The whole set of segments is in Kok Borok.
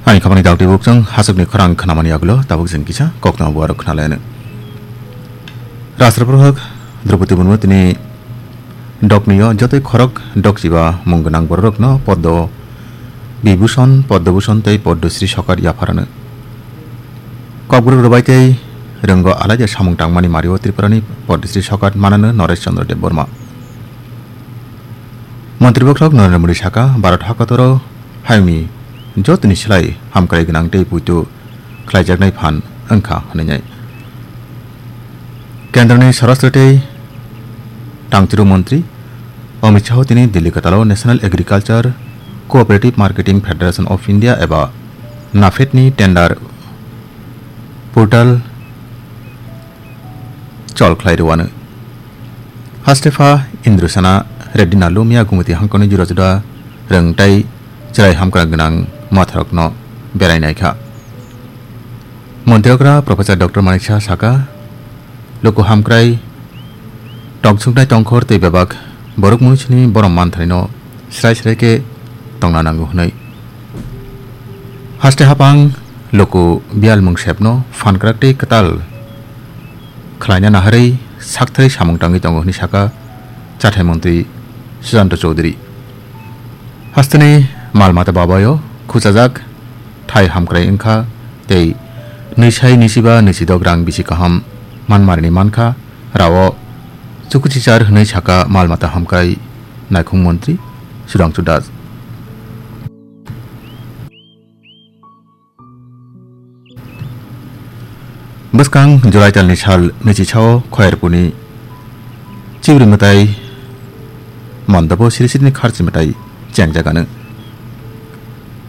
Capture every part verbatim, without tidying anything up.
Ani khapani dakti bukchang hasukni khorang khnamani agulo tabuk jeng kisa kokno buarok khnalaino. Rashtrapati Draupadi Murmu tini doknio jotoi khorok dokchiba mung gwnang bororokno Padma Vibhushan, Padma Bhushan tei Padma Shri sokat yapharano. Kokborok rwbai tei rwngo alaida samung tangmani mario Tripurani Padma Shri sokat manano Naresh Chandra Debbarma. Montri bokhorok Narendra Modi saka, Bharat hakotoro hayungni jotoni slai hamkrai gwnang tei puitu khlaijaknai phan wngkha hwnwi nai. Kendroni Swarashtra tei Tangchiru Montri Amit Shah tini Delhi kwtalo National Agriculture Cooperative Marketing Federation of India eba NAFED ni tender portal chol khlai rwano. Haste pha Indrasena Reddy Nallu miya Gumati hangkoni jura juda rwng tei chwrai hamkra gwnang mwtharokno berai naikha. Montri okra Professor Doctor Manik Saha saka, luku hamkrai tongsuknai tongkhor tei bebak borok munisini borom mantharino srai srai khe tongna nango hwnwi. Haste hapang luku biyal mungsepno phankrak tei kwtal khlaina naharwi sakthai samung tangwi tongo hwnwi saka chathai montri Sujanta Chowdhury. Hasteni mal mata babayo khuchajak thai hamkrai wngkha tei nwisai nisiba nisidok rang bisi kaham manmarini mankha rao chukuchichar hwnwi saka mal mata hamkrai naikhung montri Sudhangshu Das. Bwskang July talni sal nwichisa o Khoyerpuni Chibri mwtai mondopo siri sirini kharchi mwtai chengjagano.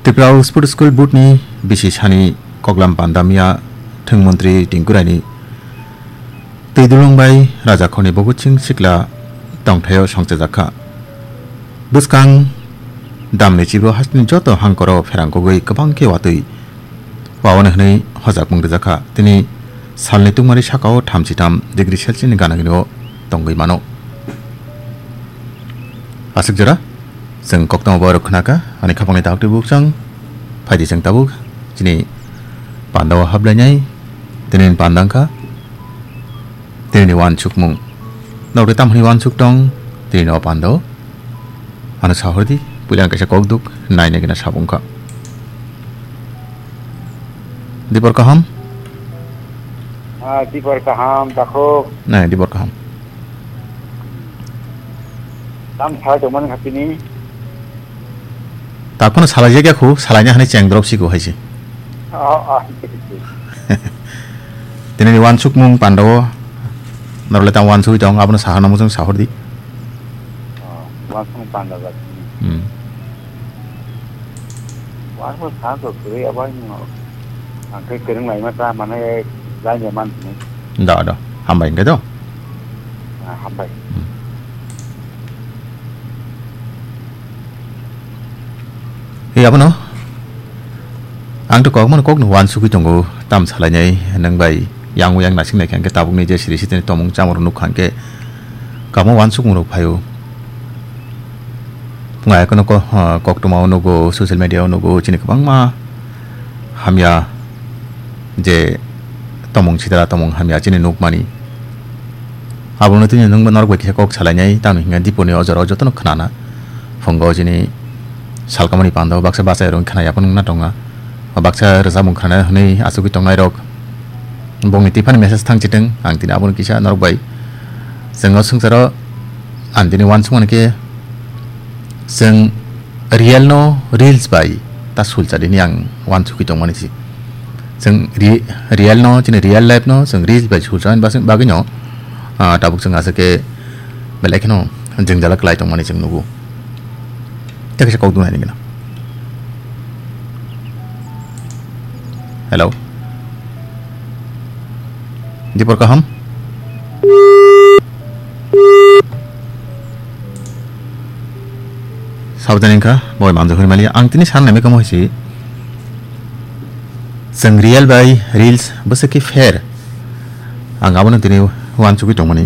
Tripura Sport School Board ni bisi sani koklam panda miya thwng montri Tinku Raini twi dulung bai rajakhorni Bhagat Singh sikla tongthaio songchajak kha. Bwskang damni chibo hasteni joto hangkoro pherang kogwi kwbang khe watwi wawani hwnwi hojakmung rijak kha. Tini salni tungmani sakao thamchi tham degree Celsius ni gana gini o tongwi mano. Aswk jora chwng koktwma borok khna kha, ani khapangni tabuk twi bukchang phaidi chwng tabuk chini pandao hablainai tini panda wngkha. Tini ni wansukmung. Norok tei tamhani wansuk tong, tini no pando. Ano sahordi, puila ang kaisa kok duk, nai nai gina sabung kha. Dipor kaham? Ah, dipor kaham, takhuk. Nai, dipor kaham. Tam salai tongmani kha tini. Takhwno salai jak ya khu, salai na hani cheng drop si khu hai si. Oh, oh. Tini ni wansukmung panda o, norok le tamo wansugwi tong, abono saha namo chwng sahor di. Oh, wansukmung panda jak. Hmm. Wansuk sa to kuri abai no. Ang khe kwrwng laima ta mane lai ne man sini. Da, da. Hambai hingke do. Ah, hambai. Hmm. Ei, abono. Ang to kok mano kok no wansugwi tongo, tam salainai, nang bai yang yang nasing nai khe tabuk ni je siri sitini tomung chamung rok nukha hingke kamo wansukmung rok phaio. Ngai kono ko, ah, koktwma o nugo, social media o nugo, chini kwbangma hamya je tomung sitra tomung hamya chini nukmani. Abono tini nwngbo norok bai kisa kok salainai, tamni hwnka diponi o jora o jotono khnana. Phungo chini salkamani pando baksa bachai rok khna yaphang wngna tonga. Baksa rwchapmung khnana hwnwi achugwi tongnai rok. Bongni tiphani message thang chiteng, ang tini abono kisa norok bai. Chwng o swngcharo ang tini wansukmani khe chwng real no reels bai ta sulchadini ang wansukwi tongmani si. Chwng re-, real no, chini real life no chwng reels bai sulchamani bas-, bagwi no, ah, tabuk chwng aswk khe belai kheno jwngjal kwlai tongmani chwng nugo. Tei kaisa kok dunai nini gana. Hello. Dipor kaham? Sabjani wngkha, boi manjak hwnwi maliya. Ang tini sana naimai kamo hai si. Chwng real bai reels bwswk khe fair. Ang abono tini wansugwi tongmani.